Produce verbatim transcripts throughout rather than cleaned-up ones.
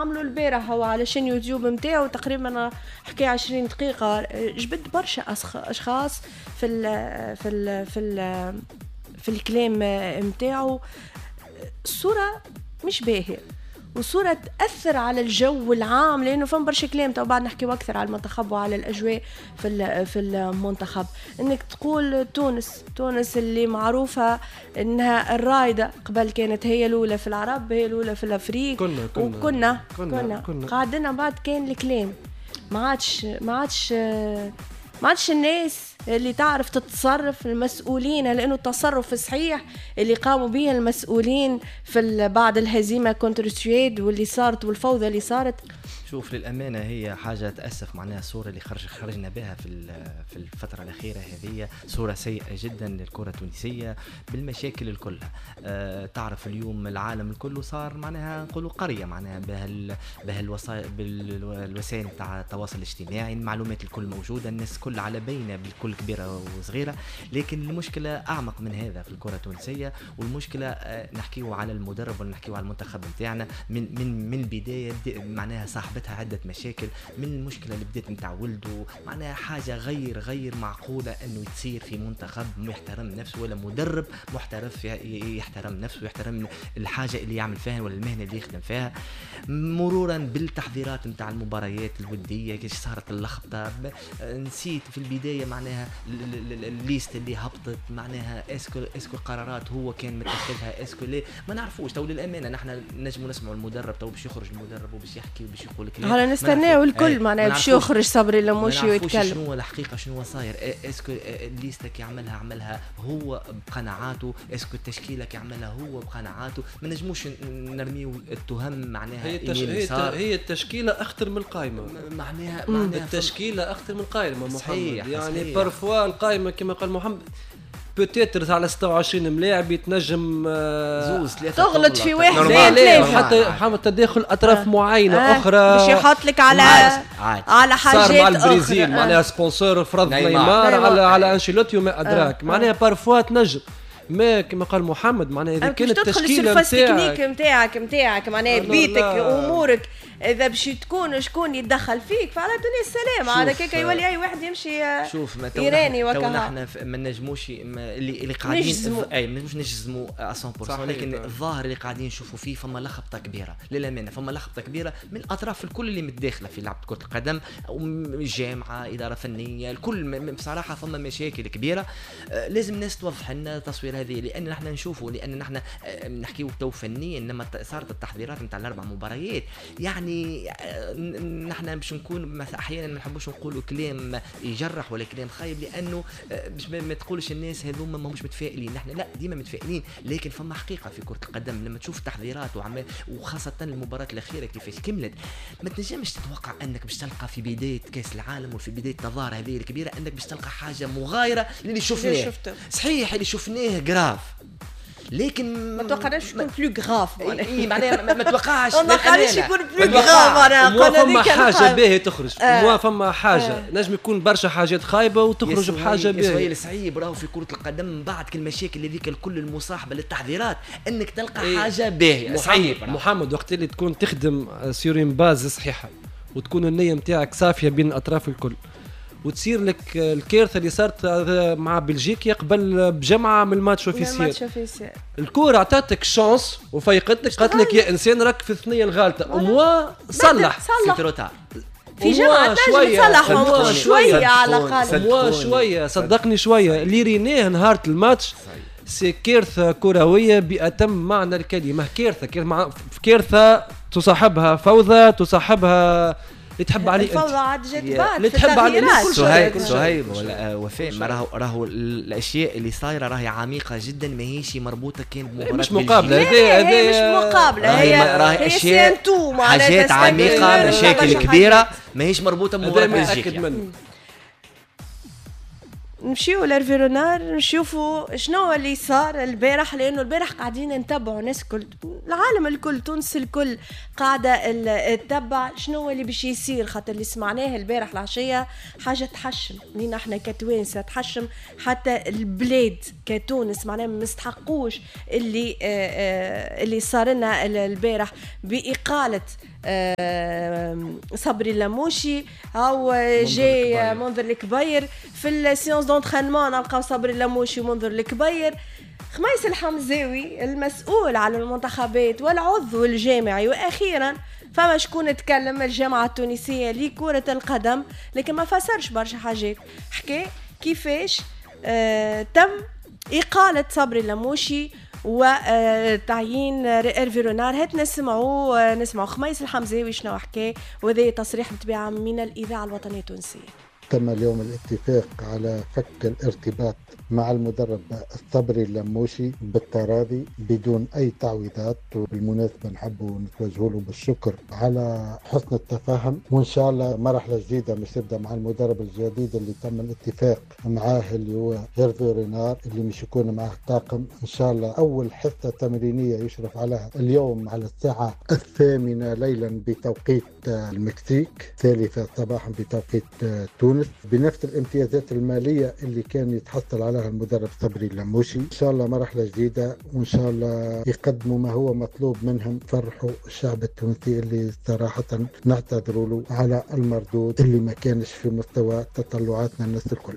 عملوا البارح هو على chaîne YouTube نتاعو تقريبا حكى عشرين دقيقة، جبد برشا أشخاص في ال في ال في ال في الكلام نتاعو. الصورة مش باهية وصورة تأثر على الجو العام، لأنه فما برشا كلام تو بعد نحكيو أكثر على المنتخب وعلى الأجواء في في المنتخب. إنك تقول تونس، تونس اللي معروفة إنها الرايدة، قبل كانت هي الأولى في العرب، هي الأولى في الأفريق، كنا كنا وكنا كنا, كنا, كنا. قعدنا بعد كان الكلام ما عادش ما عادش ما عادش الناس اللي تعرف تتصرف، المسؤولين، لأنه التصرف الصحيح اللي قاموا به المسؤولين في بعد الهزيمة contre السويد واللي صارت والفوضى اللي صارت. شوف للأمانة هي حاجة تأسف، معناها الصورة اللي خرج خرجنا بها في في الفترة الأخيرة هذه صورة سيئة جدا للكرة التونسية بالمشاكل الكل. أه تعرف اليوم العالم الكل صار معناها نقولوا قرية، معناها بهال بهالوسائل بالوسائل نتاع التواصل الاجتماعي، المعلومات الكل موجودة، الناس كل على بينة بالكل كبيرة وصغيرة. لكن المشكلة أعمق من هذا في الكرة التونسية، والمشكلة أه نحكيه على المدرب ولا نحكيه على المنتخب نتاعنا من من من البداية، معناها صاحب عدة مشاكل من المشكلة اللي بدأت نتاع ولده، معناها حاجة غير غير معقولة أنه تصير في منتخب محترم نفسه ولا مدرب محترف يحترم نفسه ويحترم الحاجة اللي يعمل فيها ولا المهنة اللي يخدم فيها. مرورا بالتحضيرات نتاع المباريات الودية كيش صارت اللخبطة، نسيت في البداية معناها ال liste اللي هبطت، معناها est-ce que est-ce que القرارات هو كان متخذها est-ce que لا ما نعرفوش. تو للأمانة نحن نجموا نسمعوا المدرب تو باش يخرج المدرب وباش يحكي وباش يقول هلا نستناو الكل معناها باش يخرج صبري لموشي ويتكلم شنو الحقيقة شنو صاير. est-ce que ال liste كي عملها عملها هو بقناعاته، est-ce que التشكيلة كي عملها هو بقناعاته، ما نجموش نرميو التهم معناها. هي, التش... هي, هي التشكيلة اخطر من القائمة، معناها معناها التشكيلة اخطر من القائمة محمد. صحيح يعني صحيح. parfois القائمة كما قال محمد peut-être على ستة وعشرين ملاعب يتنجم زوز ثلاثة تغلط في واحد لا حتى محمد تداخل اطراف آه. معينة آه. اخرى باش يحط لك على عاد. عاد. على حاجات صار مع البرازيل معناها sponsor فرض نيمار على على انشيلوتي وما ادراك آه. معناها parfois تنجم ما كما قال محمد معناها اذا كانت التشكيلة نتاعك نتاعك نتاعك معناها بيتك امورك اذا باش تكون شكون يتدخل فيك فعلى الدنيا السلام. على كيك يولي اي واحد يمشي شوف ما ايراني وكها. نحن ما نجموش اللي اللي قاعدين اي ما نجموش نجزموا مية بالمية، لكن الظاهر اللي قاعدين نشوفوا فيه فما لخبطة كبيرة للامانة، فما لخبطة كبيرة من الاطراف الكل اللي متداخلة في لعبه كره القدم، الجامعة، ادارة فنية، الكل بصراحة فما مشاكل كبيرة. لازم الناس توضح لنا التصوير هذه، لان نحن نشوفوا لان نحن نحكيو تو فنيا لما صارت التحضيرات نتاع الاربع مباريات، يعني نحن باش نكون احيانا ما نحبوش نقولوا كلام يجرح ولا كلام خايب، لانه باش ما تقولش الناس هذوما ما همش متفائلين. نحن لا ديما متفائلين، لكن فما حقيقة في كره القدم لما تشوف تحضيرات وعمل وخاصة المباراة الاخيرة كيفاش كملت، ما تنجمش تتوقع انك باش تلقى في بداية كاس العالم وفي بداية التظاهرة هذه الكبيرة انك باش تلقى حاجة مغايرة للي شفناه. صحيح اللي شفناه grave، لكن ما توقعناش يكون plus grave. اي معناها ما توقعش ما توقعناش يكون plus grave. معناها فما حاجة باهيه تخرج، آه. فما حاجة آه. نجم يكون برشا حاجات خايبة وتخرج بحاجة باهيه. صعيب راهو في كره القدم بعد كل المشاكل هذيك الكل المصاحبة للتحضيرات انك تلقى إيه. حاجة باهيه. صعيب محمد وقت اللي تكون تخدم sur une base صحيحه وتكون النية نتاعك صافية بين الاطراف الكل، وتصير لك الكارثة اللي صارت مع بلجيكا قبل بجمعه من ال match officiel. الكورة عطاتك chance وفيقتك، قالت لك يا انسان راك في الثنية الغالطه وموا صلح صلح في جمعه تنجم تصلح شوية على الاقل، موا شوية صدقني شوية اللي ريناه نهار ال match c'est كارثة كروية باتم معنى الكلمة. كارثة كارثة تصاحبها فوضى، تصاحبها اللي تحب عليه الفوضى عاد جات بعد اللي تحب عليه. سهيب سهيب ولا وفاء، ما راهو راهو الاشياء اللي صايرة راهي عميقة جدا، ماهيش مربوطة كان بمباراة مش مقابله. هذه مش مقابله، هي راهي اشياء حاجات عميقة، مشاكل كبيرة ماهيش مربوطة بمباراة بلجيكا. نمشيو لإرفي رونار نشوفوا شنو اللي صار البارح، لانه البارح قاعدين نتبعوا ناس كل العالم الكل، تونس الكل قاعدة تتبع شنو اللي باش يصير، خاطر اللي سمعناه البارح العشية حاجة تحشم لينا احنا كتوانسه، تحشم حتى البلاد كتونس، معناها ما نستحقوش اللي اللي صار لنا البارح باقالة صبري اللموشي، هاو جاي منذر الكبير. في ال séance d'entraînement نلقاو صبري اللموشي ومنذر الكبير. خميس الحمزاوي المسؤول على المنتخبات والعضو الجامعي، واخيرا فما شكون تكلم الجامعة التونسية لكرة القدم، لكن ما فسرش برشا حاجات. حكى كيفاش آه تم إقالة صبري اللموشي وتعيين إيرفي رونار. هات نسمعوا نسمعوا خميس الحمزاوي شنو حكى، وهذا تصريح بالطبيعة من الإذاعة الوطنية التونسية. تم اليوم الاتفاق على فك الارتباط مع المدرب الصبري اللموشي بالتراضي بدون أي تعويضات، وبالمناسبة نحب نتوجه له بالشكر على حسن التفاهم، وإن شاء الله مرحلة جديدة مش تبدأ مع المدرب الجديد اللي تم الاتفاق معاه اللي هو هيرفي رينار، اللي مش يكون معاه طاقم إن شاء الله. أول حصة تمرينية يشرف عليها اليوم على الساعة الثامنة ليلا بتوقيت المكسيك، ثالثة صباحا بتوقيت تونس، بنفس الامتيازات المالية اللي كان يتحصل عليها المدرب صبري اللموشي. إن شاء الله مرحلة جديدة، وإن شاء الله يقدموا ما هو مطلوب منهم، فرحوا الشعب التونسي اللي صراحة نعتذروا له على المردود اللي ما كانش في مستوى تطلعاتنا الناس الكل.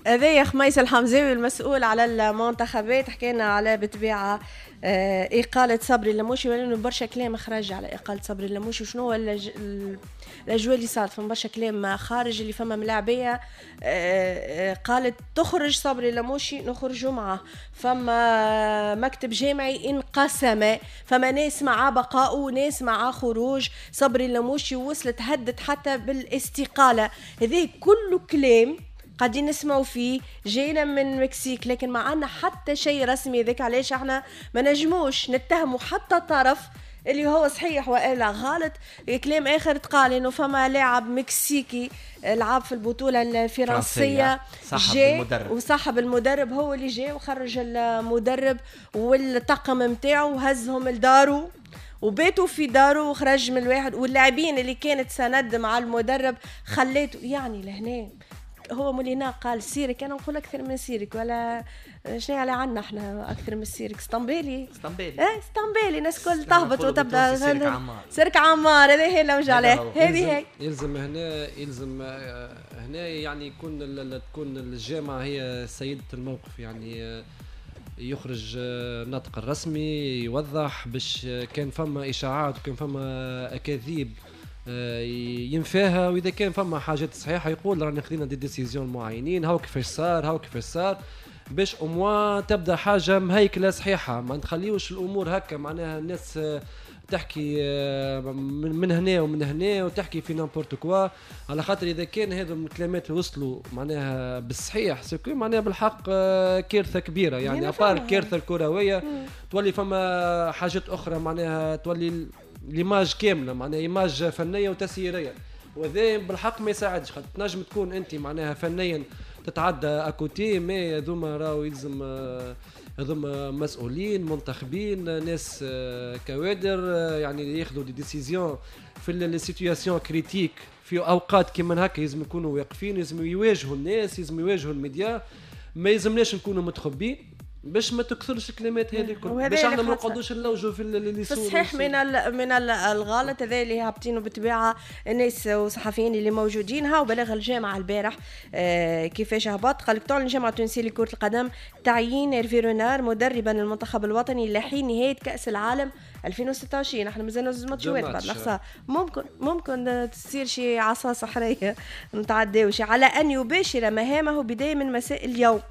هذا خميس الحمزاوي المسؤول على المنتخبات. حكينا على بطبيعة إقالة صبري اللموشي، ولأنه برشا كلام خرج على إقالة صبري اللموشي وشنو هو الأجواء اللي صارت. فما برشا كلام خارج اللي فما ملاعبية قالت تخرج صبري اللموشي نخرجوا معه، فما مكتب جامعي انقسم، فما ناس مع بقائه وناس مع خروج صبري اللموشي، وصلت هدت حتى بالاستقالة. هذا كله كلام قاعدين نسمعوا فيه جاينا من المكسيك، لكن ما عندنا حتى شيء رسمي. ذاك علاش احنا ما نجموش نتهموا حتى طرف اللي هو صحيح والا غلط. كلام اخر تقال انه فما لاعب مكسيكي لعب في البطولة الفرنسية جاء وصاحب المدرب هو اللي جاء وخرج المدرب والطاقم نتاعو وهزهم لدارو وباتوا في داره وخرج من الواحد، واللاعبين اللي كانت سند مع المدرب خليته يعني لهنا. هو مولينا قال سيرك، انا نقول اكثر من سيرك ولا شنو على عنا احنا اكثر من السيرك. اسطنبالي اسطنبالي ايه اسطنبالي الناس كل تهبط وتبدا سيرك عمار، سيرك عمار هذه هي اللي عليه، هذه هي. يلزم هنا يلزم هنا يعني يكون تكون الجامعة هي سيده الموقف، يعني يخرج الناطق الرسمي يوضح باش كان فما اشاعات وكان فما اكاذيب ينفاها، واذا كان فما حاجات صحيحه يقول رانا خذينا des décisions معينين، هاو كيفاش صار هاو كيفاش صار، باش au moins تبدا حاجة مهيكله صحيحه، ما نخليوش الامور هكا معناها الناس تحكي من هنا ومن هنا وتحكي في n'importe quoi. على خاطر اذا كان هذو الكلمات وصلوا معناها بالصحيح ce que معناها بالحق كارثة كبيرة، يعني à part الكارثة الكروية تولي فما حاجات اخرى، معناها تولي l'image كاملة معناها image فنية وتسييريه، وهذا بالحق ما يساعدش. خاطر تنجم تكون انت معناها فنيا تتعدى à côté، mais هذوما راهو يلزم هذوما مسؤولين منتخبين ناس كوادر يعني ياخذوا des décisions في les situations critiques في اوقات كيما هكا، لازم يكونوا واقفين، لازم يواجهوا الناس، لازم يواجهوا الميديا، ما يلزمناش نكونوا متخبين باش ما تكثرش الكلمات هذه الكل، باش احنا ما نقعدوش نلوجوا في اللي يصير. صحيح من ال من ال الغلط هذا اللي هابطينه بالطبيعة الناس والصحفيين اللي موجودين. ها وبلغ الجامعة البارح آه كيفاش هبط، قال لك تعلن الجامعة التونسية لكرة القدم تعيين إيرفي رونار مدربا للمنتخب الوطني لحين نهاية كاس العالم ألفين وستة وعشرين. احنا مازلنا زوج ماتشات بعد الخسارة، ممكن ممكن تصير شي عصا سحريه نتعداو شي، على ان يباشر مهامه بداية من مساء اليوم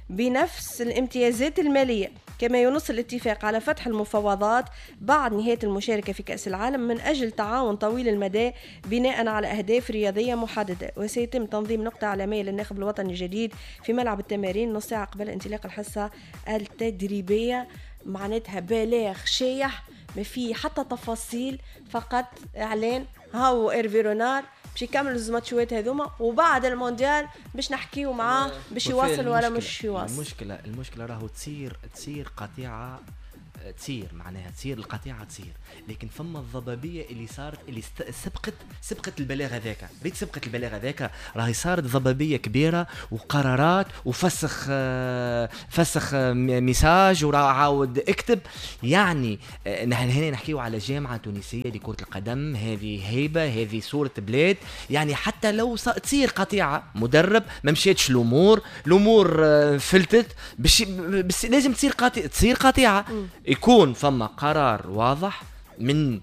بنفس الامتيازات المالية، كما ينص الاتفاق على فتح المفاوضات بعد نهاية المشاركة في كأس العالم من أجل تعاون طويل المدى بناء على أهداف رياضية محددة. وسيتم تنظيم نقطة عالمية للناخب الوطني الجديد في ملعب التمارين نص ساعة قبل انطلاق الحصة التدريبية. معناتها بلاغ شايح ما فيه حتى تفاصيل، فقط إعلان هاو إيرفي رونار باش يكمل الماتشات هذوما وبعد المونديال باش نحكيو معاه باش يواصل ولا مش يواصل. المشكلة المشكلة راهو تصير تصير قطيعة تصير معناها تصير القطيعة تصير، لكن فما الضبابيه اللي صارت اللي سبقت سبقت البلاغ هذاك، ريت سبقت البلاغ هذاك راهي صارت ضبابية كبيرة وقرارات وفسخ فسخ message وراه عاود اكتب. يعني نحن هنا نحكيو على جامعه تونسية لكرة القدم، هذه هيبة، هذه صوره بلاد. يعني حتى لو تصير قطيعة مدرب ما مشيتش الامور، الامور فلتت، بش بس لازم تصير قطيعة، تصير قطيعة يكون فما قرار واضح من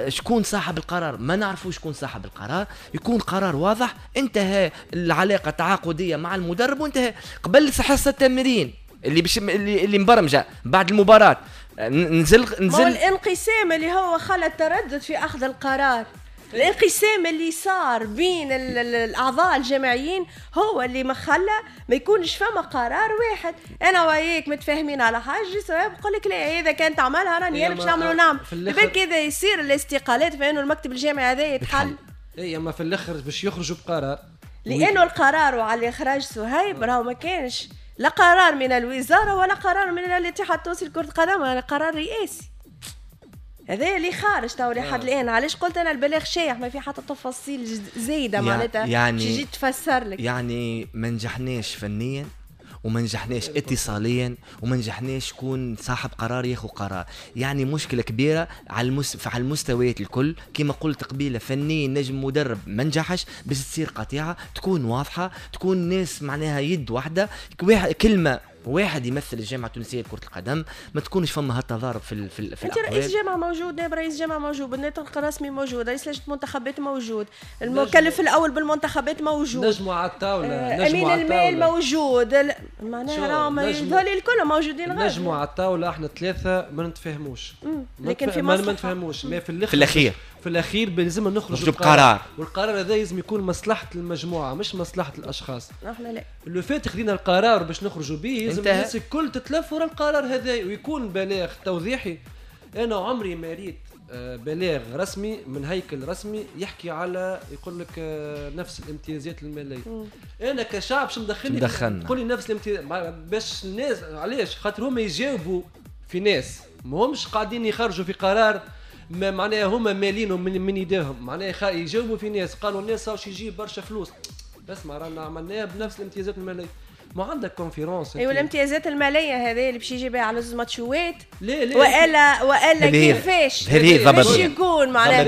شكون صاحب القرار، ما نعرفوا شكون صاحب القرار، يكون قرار واضح، انتهى العلاقة التعاقديه مع المدرب وانتهى قبل حصة التمرين اللي بش اللي, اللي مبرمجه بعد المباراة. نزل نزل الانقسام اللي هو خلى التردد في اخذ القرار، الانقسام اللي صار بين الاعضاء الجامعيين هو اللي ما خلى ما يكونش فما قرار واحد. انا وياك متفاهمين على حاجة، سواء بقول لك لا اذا كان تعملها راني انا باش نعملوا نعم، بالك اذا يصير الاستقالات فانه المكتب الجامعي هذا يتحل. اي اما في الاخر باش يخرجوا بقرار، لانه القرار على اخراج سهيب راهو ما كانش لا قرار من الوزارة ولا قرار من الاتحاد التونسي لكرة القدم، قرار رئاسي. هذا اللي خارج تو لحد آه. الان. علاش قلت انا البلاغ شايح، ما في حتى تفاصيل زايدة معناتها يعني تجي تفسر لك. يعني ما نجحناش فنيا وما نجحناش اتصاليا وما نجحناش شكون صاحب قرار ياخذ قرار. يعني مشكلة كبيرة على المس... على المستويات الكل كما قلت قبيلة، فنيا نجم مدرب ما نجحش باش تصير قطيعة تكون واضحة، تكون ناس معناها يد واحدة، كلمة واحد يمثل الجامعة التونسية لكرة القدم، ما تكونش فما هالتضارب في ال في, ال في انت رئيس جامعه موجود، نائب رئيس جامعه موجود، الناطق الرسمي موجود، رئيس لجنة منتخبات موجود، المكلف الاول بالمنتخبات موجود، نجموا على الطاولة، آه، امين المال موجود، معناها راهم هذول الكل موجودين. غير نجموا على الطاولة احنا ثلاثة ما نتفاهموش، لكن في ما نتفاهموش، ما في الاخر في الاخير في الاخير لازم نخرج بقرار، والقرار هذا لازم يكون مصلحة المجموعة مش مصلحة الاشخاص. احنا لا اللي فات خدينا القرار باش نخرجوا به، لازم الناس الكل تتلف ورا القرار هذا ويكون بلاغ توضيحي. انا عمري ما ريت بلاغ رسمي من هيكل رسمي يحكي على يقول لك نفس الامتيازات المالية. مم. انا كشعب شو مدخلني تقول لي نفس الامتياز باش الناس، علاش؟ خاطر هما يجاوبوا في ناس ما همش قاعدين يخرجوا في قرار ما معناها هما مالينهم من, من يداهم، معناها يجاوبوا في ناس قالوا الناس واش يجيب برشا فلوس، بس ما رانا عملناها بنفس الامتيازات المالية. ما عندك conférence. ايوا الامتيازات المالية هذه اللي باش يجيبها على زوج ماتشوات، لا لا والا والا كيفاش باش يكون معناها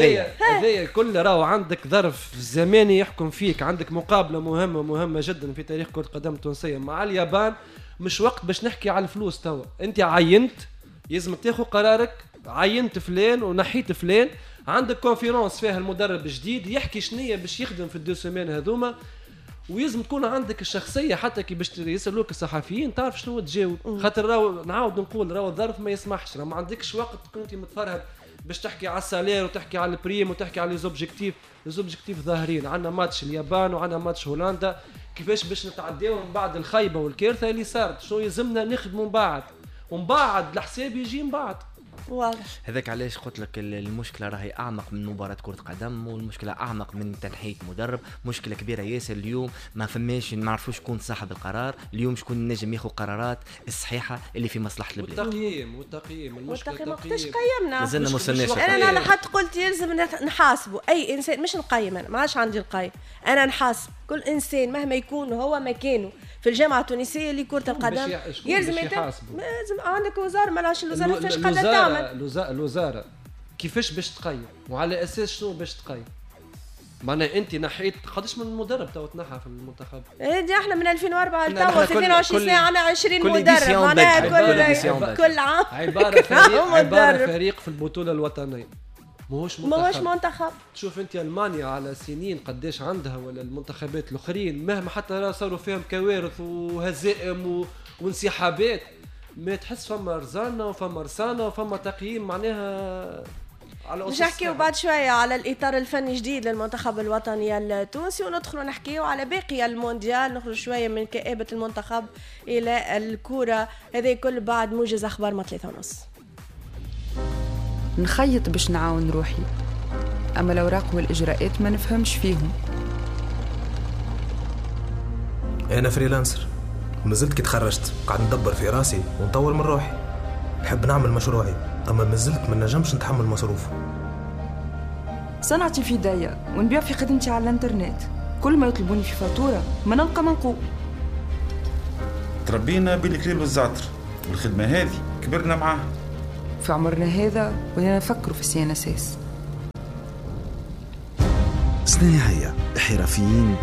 هذايا الكل راهو عندك ظرف زماني يحكم فيك، عندك مقابله مهمة مهمة جدا في تاريخ كره القدم التونسية مع اليابان، مش وقت باش نحكي على الفلوس توا. انت عينت لازم تاخذ قرارك، عينت فلان ونحيت فلان، عندك conférence فيها المدرب الجديد يحكي شنية باش يخدم في ال deux semaines هذوما، ويلزم تكون عندك الشخصية حتى كي باش يسالوك الصحفيين تعرف شنو تجاوب، خاطر راهو نعاود نقول راهو الظرف ما يسمحش، راه ما عندكش وقت تكون انت متفرهد باش تحكي على ال salaire وتحكي على ال prime وتحكي على les objectifs. les objectifs ظاهرين، عندنا ماتش اليابان وعندنا ماتش هولندا، كيفاش باش نتعداو من بعد الخيبه والكارثه اللي صارت، شنو يلزمنا نخدموا من بعد، ومن بعد الحساب يجي من بعد. واضح. هذاك علاش قلت لك المشكلة راهي اعمق من مباراة كره قدم، والمشكلة اعمق من تنحيه مدرب، مشكلة كبيرة ياسر. اليوم ما فماش، ما نعرفوش شكون صاحب القرار، اليوم شكون نجم ياخذ قرارات الصحيحة اللي في مصلحة البلاد. والتقييم والتقييم المشكلة التقييم وقتاش قيمنا؟ مازلنا ما وصلناش. انا على حد قلت يلزم نحاسبه اي انسان، مش نقيم انا ما عادش عندي القيم، انا نحاسب كل انسان مهما يكون هو مكانه في الجامعة التونسية لكرة القدم يلزم لازم عندك وزارة، ما لهاش الوزارة كيفاش قاعدة تعمل؟ الوزارة كيفاش باش تقيم وعلى اساس شنو باش تقيم؟ معناها انت نحيت قداش من مدرب تو تنحى في المنتخب؟ إيه احنا من ألفين وأربعة لتوا اثنين وعشرين سنة عندنا عشرين مدرب، معناها كل كل عام عبارة فريق عبارة فريق في البطولة الوطنية ماهوش منتخب، ماهوش منتخب. تشوف انت المانيا على سنين قداش عندها، ولا المنتخبات الاخرين مهما حتى صاروا فيهم كوارث وهزائم و... وانسحابات، ما تحس فما رزانه وفما رسانه وفما تقييم معناها على باش نحكيو بعد شوية على الاطار الفني الجديد للمنتخب الوطني التونسي، وندخلوا نحكيو على باقي المونديال، نخرج شوية من كآبه المنتخب الى الكره. هذا كل بعد موجز اخبار ما ثلاثة ونص. نخيط باش نعاون روحي، أما الأوراق والإجراءات ما نفهمش فيهم. أنا freelancer ومازلت كي تخرجت قاعد ندبر في راسي ونطور من روحي. نحب نعمل مشروعي أما مازلت ما نجمش نتحمل مصروفه. صنعتي في يديا ونبيع في خدمتي على الانترنت، كل ما يطلبوني في فاتورة ما نلقى منقول. تربينا بالكليل والزعتر والخدمة هذه كبرنا معاها. في عمرنا هذا ولينا نفكروا في CNSS. صناعية، حرفيين،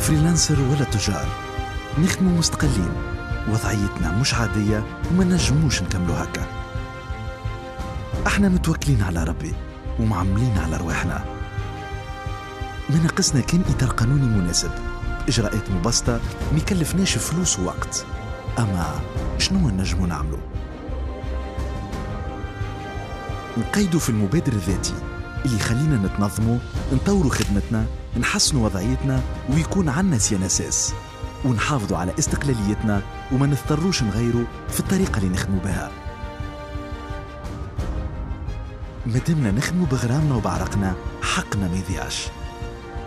freelancer ولا تجار، نخدموا مستقلين، وضعيتنا مش عادية وما نجموش نكملوا هكا. احنا متوكلين على ربي ومعملين على رواحنا. ما ناقصنا كان إطار قانوني مناسب، إجراءات مبسطة ما يكلفناش فلوس ووقت. أما شنو نجمو نعملو؟ نقيدو في المبادر الذاتي اللي يخلينا نتنظمو، نطورو خدمتنا، نحسنو وضعيتنا ويكون عنا CNSS، ونحافظوا على استقلاليتنا وما نضطروش نغيرو في الطريقة اللي نخدمو بها. مادامنا نخدمو بغرامنا وبعرقنا حقنا ما يضيعش،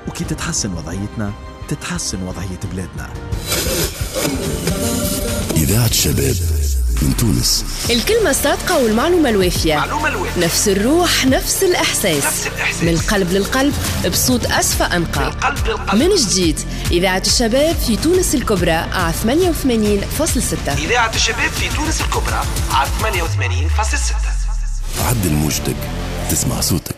وكي تتحسن وضعيتنا تتحسن وضعية بلادنا. إذاعة الشباب من تونس. الكلمة الصادقة والمعلومة الوافية، نفس الروح، نفس الإحساس، نفس الإحساس. من القلب للقلب بصوت أسفى أنقى. من جديد إذاعة الشباب في تونس الكبرى على ثمانية وثمانين فاصلة ستة. إذاعة الشباب في تونس الكبرى على ثمانية وثمانين فاصلة ستة. عدل موجتك تسمع صوتك.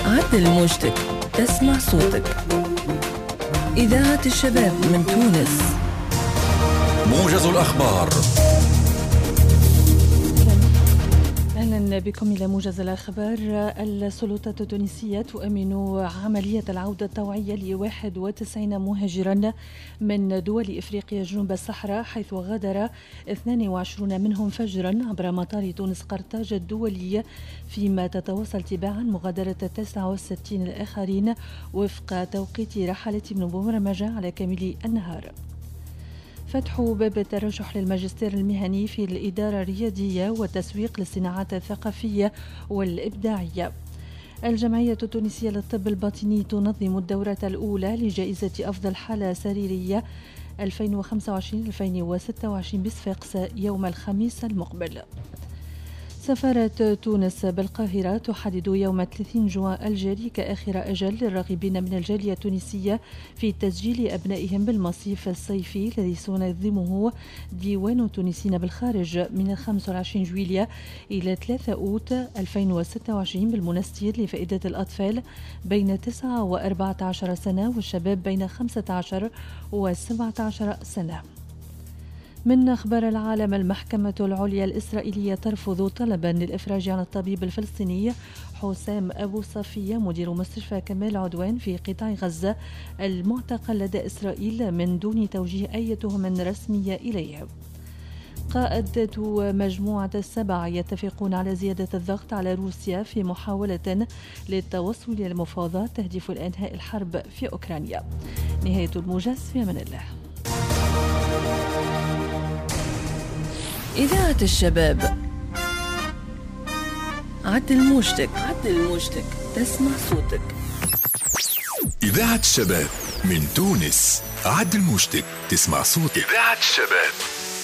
عدل موجتك تسمع صوتك. إذاعة الشباب من تونس. موجز الأخبار. أهلا بكم إلى موجز الأخبار. السلطات التونسية تؤمن عملية العودة الطوعية ل واحد وتسعين مهاجرا من دول إفريقيا جنوب الصحراء، حيث غادر اثنين وعشرون منهم فجرا عبر مطار تونس قرطاج الدولي، فيما تتواصل تباعا مغادرة تسعة وستين الآخرين وفق توقيت رحلتهم المبرمجة على كامل النهار. فتح باب الترشح للماجستير المهني في الإدارة الريادية والتسويق للصناعات الثقافية والإبداعية. الجمعية التونسية للطب الباطني تنظم الدورة الأولى لجائزة أفضل حالة سريرية ألفين وخمسة وعشرين ألفين وستة وعشرين بصفاقس يوم الخميس المقبل. سفارة تونس بالقاهرة تحدد يوم ثلاثين جوان الجاري كآخر أجل للراغبين من الجالية التونسية في تسجيل أبنائهم بالمصيف الصيفي الذي سينظمه ديوان التونسيين بالخارج من خمسة وعشرين جويلية إلى ثلاثة أوت ألفين وستة وعشرين بالمنستير لفائدة الأطفال بين تسعة وأربعة عشر سنة والشباب بين خمسة عشر وسبعة عشر سنة. من أخبار العالم، المحكمة العليا الإسرائيلية ترفض طلبا للإفراج عن الطبيب الفلسطيني حسام أبو صفية مدير مستشفى كمال عدوان في قطاع غزة المعتقل لدى إسرائيل من دون توجيه أي تهم رسمية إليه. قائدة مجموعة السبع يتفقون على زيادة الضغط على روسيا في محاولة للتوصل إلى المفاوضات تهدف لإنهاء الحرب في أوكرانيا. نهاية الموجز، في أمان الله. إذاعة الشباب، عدل موجتك، عدل موجتك تسمع صوتك. إذاعة الشباب من تونس، عدل موجتك تسمع صوتك. إذاعة الشباب،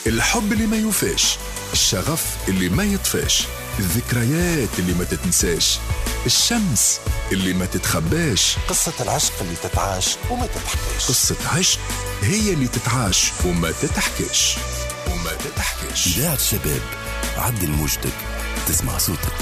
الحب اللي ما يوفاش، الشغف اللي ما يطفاش، الذكريات اللي ما تتنساش، الشمس اللي ما تتخباش، قصة العشق اللي تتعاش وما تتحكاش. قصة عشق هي اللي تتعاش وما تتحكاش وما تتحكاش. إذاعة الشباب، عدل موجتك تسمع صوتك.